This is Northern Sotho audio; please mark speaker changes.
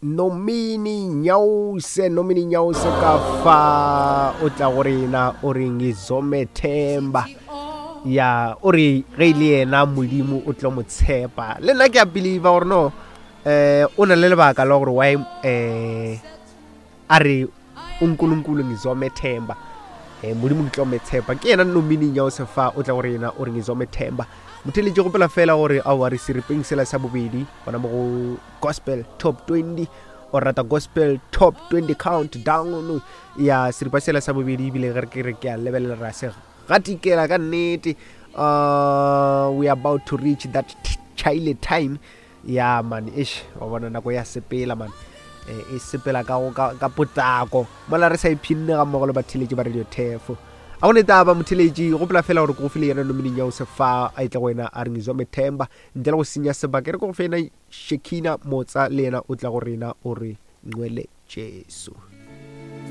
Speaker 1: Nomini Nyause, Nomini Nyause ka fa o tla go rena o re ngizomethemba. Ya, o re ge e le yena Modimo o tlo mo tshepa. Le nna ke a believe gore no eh o na le lebaka la gore why eh a re uNkulunkulu ngizomethemba. Eh Modimo ke tlo mo tshepa. Ke yena Nomini Nyause fa o tla go rena o re ngizomethemba. Motheletši gopola fela gore aowa re seripeng sela sa bobedi gona mo go Gospel Top 20 o rata Gospel Top 20 Countdown ya seripa sela sa bobedi ebile ge re ke re ke a lebelela ra se gatikela ka nnete. We are about to reach that chile time ya man ish wa bona nako ya sepela man e sepela ka ka, ka potlako mola re sa iphinne ga mmogo le batheletši ba radio thefo a go ne taba motheletši gopola fela gore ke go file yena nomining ya o se fa a etle go wena a re ngizomethemba ntle le go senya sebaka e re ke go fe yena Shekina Motsa le yena o tla go rena o re Ngcwele Jesu.